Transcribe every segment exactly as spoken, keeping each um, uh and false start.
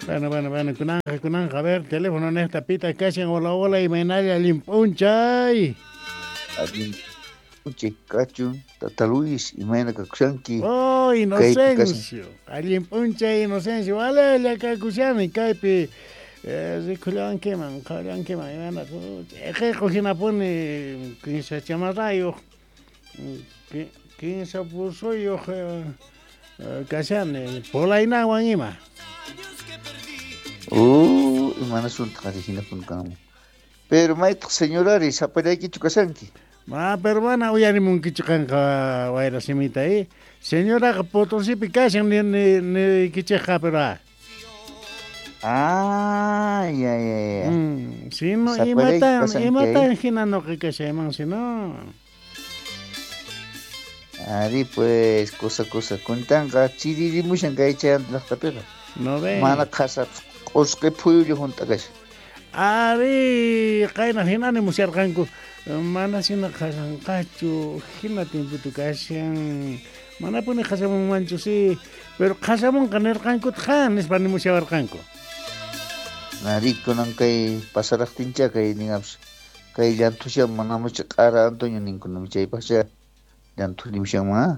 Bueno, bueno, bueno, kunanja, kunanja, a ver, teléfono nesta pita kashan, hola, hola, imaynalla allin p'unchay. Allin p'unchay kachun, Tata Luis, imayna kakushanki. Oh, Inocencio, allin p'unchay, Inocencio, walella kakushani, kaypi eh, rikullawankiman, qhawallawankiman, imayna, ch'iqiqu hinapuni, kinsa chamarrayuq, kinsa pusuyuq kashani, polainawan ima. Uh, imanasunta qari hinapuni kanman. Pero maytaq señorari sapallaykichu kashanki. Ma, pero mana uyarimunkichu qanqa wayra simita, eh? Señoraqa Potosipi kashan ni ni niykichikqa, pero ah. Ah, ya, ya, ya. Mm, si no, Sapallayki imatan, kashanki, imatan eh? hina nuqa kashayman, si no. Ari pues, cosa, cosa, kuntanqa chiririmushan kay chayanta llaqtapiqa. No ve. Mana qhasapis q'usqi phuyulla hunt'a kashan. Ari, qayna hinani musyarqanku, mana hina qhasanqachu, hina timputu kashan, manapuni qhasamunmanchu, sí, pero qhasamunqa nirqankutaq ha, nispa nimusyawarqanku. Ari, kunan kay pasaraqtincha kay ningapis, kay llanthushan manamucha q'ara Antonio ninkunami chaypaqcha llanthu nimushanman, ah.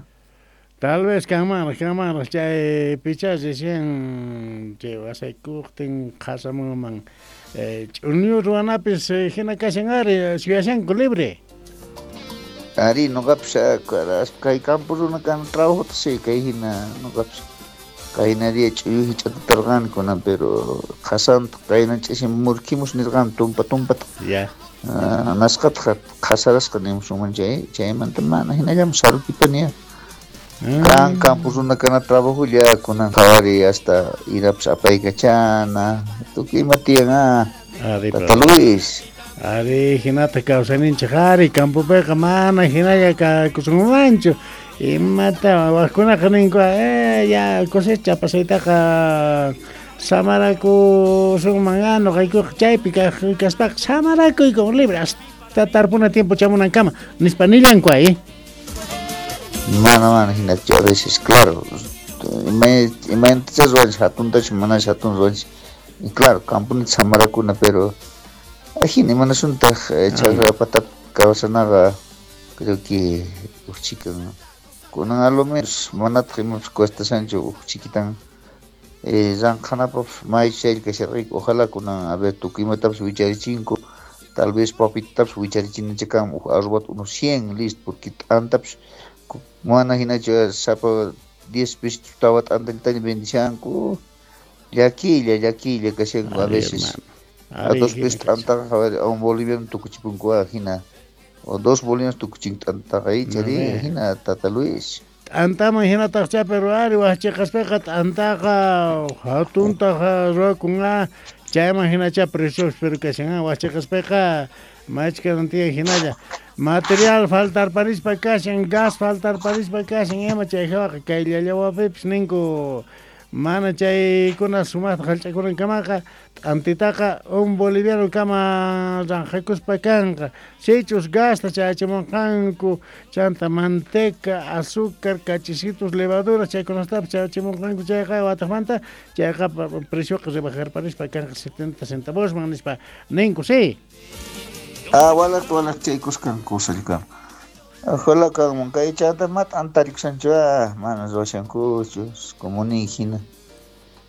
Tal vez kanmanraq, kanmanraq chay picha recién chay wasaykuqtin qhasamunman eh, ch'uñu ruwanapis eh, hina kashan ari suyashanku libre. Ari, nuqapis kay campo runa kan trabajota sí, kay hina nuqapis qayna día ch'uyu hich'atatarqani kunan, pero qhasanta qayna ch'isin murkimus nirqani tumpa tumpata. Ya. Ah, nasqataq qhasarasqa nimusunman chay, chaymanta mana hinallaman sarukipani ya. Kan campo runa kana trabajolla kunan qhawari hasta irapis apaykachana, tukuy ima tiyan ah. Ari, Tata Luis. Ari, hinata kawsayninchik ari, campopiqa mana hinalla kakusunmanchu. Imata waqkunaqa ninku, eh, ya cosecha pasaytaqa samarakusunman, ah, nuqaykuqa chaypi kaq kaspaqa samarakuyku libre hasta tarpuna tiempo chamunankama, nispa nillanku ay. Mana, mana hinachu a veces, claro, imaynatacha ruwanchik hatuntachu manachu hatun ruwanchik. Y claro, camponita samarakuna, pero ajina imanasuntaq chakra patapi kawsanaqa creo que huk chikan kunan a lo menos manataq imapas cuestashanchu huk chikitan eh, llanqhanapaqpas may chaylla kasharqayku, ojalá kunan a ver tukuy imatapas wicharichinku, tal vez papitatapas wicharichinanchik kanman huk arrobata unos cien listo, porque t'antapis mana hinachu sapa diez pesos tawa t'antallataña vendishanku, llakiylla llakiylla kashanku a veces. A dos pesos t'antaqa a un boliviano tukuchipunku hina, o dos bolivianos tukuchin t'antaqa chari hina Tata Luis. T'antaman hinataqcha, pero ari waqchiqaspiqa t'antaqa hatuntaqa ruwakun ah, chayman hinacha precios pero kashan ah, waqchiqaspiqa machka tiyan hinalla. Material faltarparispa kashan, gas faltarparispa kashan, ima chay hawaqa kay llallawapipis ninku mana chaykuna sumaqta hallch'akunankamaqa t'antitaqa un boliviano kama ranqhakuspa kanqa. Sichus gasta chayachimunqanku, chanta manteca, azúcar, kachisitos, levaduras chaykunatapas chayachimunqanku chayqa wataqmanta chayqa precioqa rebajarparispa kanqa setenta centavosman nispa ninku, sí. Ah, walaq walaq chaykusqan kusalla kan. Ojalá kanman kay chanta ma t'antarikushanchu ah, mana ruwashankuchu, como nin hina.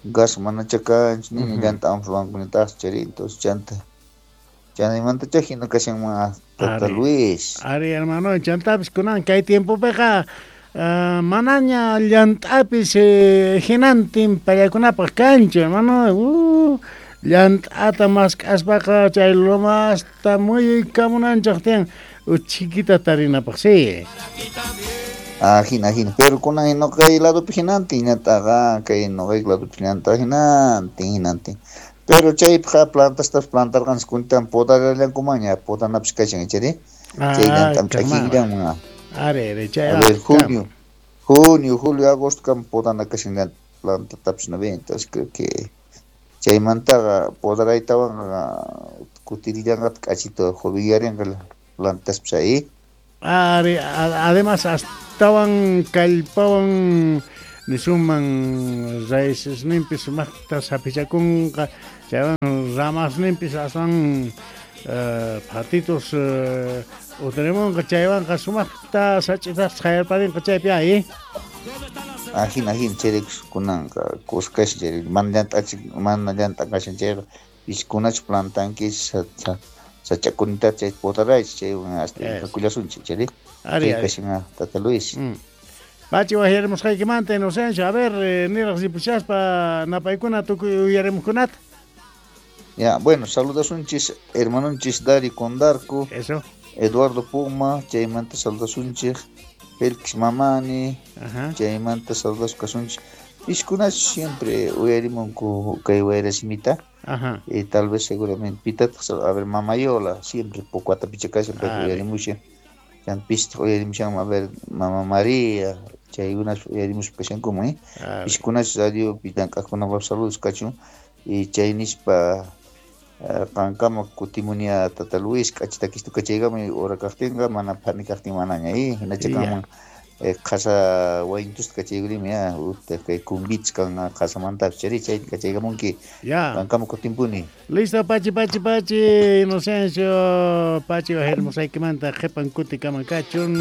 Gas manacha kanchu, nini llanta amus ruwankunitaqchu chari, entonces chanta. Chaymantacha hina kashanman Tata Luis. Ari, hermano, chantapis kunan kay tiempopiqa uh, manaña llant'apis eh, hinantin pallakunapaq kanchu, hermano. Uh, llant'ata mask'aspaqa chay lomasta muyuykamunanchik tiyan uchikita tarinapaq, sí. Ah, hina, hina. Pero kunan nuqay ladopi hinantin llant'aqa, kay nuqay ladopi llant'a hinantin, hinantin. Pero chaypiqa plantastapas plantarqanchik kuntan podarallankumanña, podanapis kashan, chari. Chay llantam ch'akillanman. Ari, ari, chay. A ver, junio, junio, julio, agosto kam podana kashan llanta plantatapis no ve, entonces creo que chaymantaqa podaraytawanqa kutirillanqataq k'achito jovillarinqa plantaspis ahí. Ari, además astawan kallpawan Nisunman raícesninpis sumaqta saphichakunqa, chaywan ramasninpis aswan uh, patitos uh, utarimunqa, chaywanqa sumaqta sach'itas chayarparinqa chaypi ay. Ajina, ajina, chayraykus kunanqa kuskashan chay mana llant'achik mana llant'akashan chayqa piskunachu plantankichis sach'akunita chay potaraychis chaywan hasta kakullasunchik chayri. Ari, chay kashan tata Luis. Mm. Pachi wajyarimusqaykimanta Inocencio, a ver, eh, niraq ripushaspa napaykuna tukuy uyarimuqkunata. Ya, bueno, saludasunchis hermanunchis Dari Condarco, Eso. Eduardo Puma, chaymanta saludasunchik Félix Mamani, Ajá. chaymanta saludas kasunchik. Piskunachu siempre uyarimunku kay wayrasimita. Ajá. Y tal vez seguramente pitataq, a ver, Mamayola, siempre poco atapicha kashan, pero Ah, uyarimushan. Chan pistaq uyarimushan, a ver, Mama María, chaykunas uyarimuspa kashankuman, eh. A ver. Piskunachu radio llank'aqkunapaq saludos kachun. Y chay nispa qankama kutimunia tata Luis, k'achita kistuka chaykamuy hora kaqtinqa, mana phani kaqtin manaña, eh, hinacha Ya. kanman qhasa wayntusta kachaykurimi ya, utaq kay kumbits kan qhasamantapis chayri chayta kachaykamunki. Ya. Qankama kutimpuni. Listo, Pachi, Pachi, Pachi, Inocencio, Pachi wajyarimusqaykimanta qhipan kuti kaman kachun.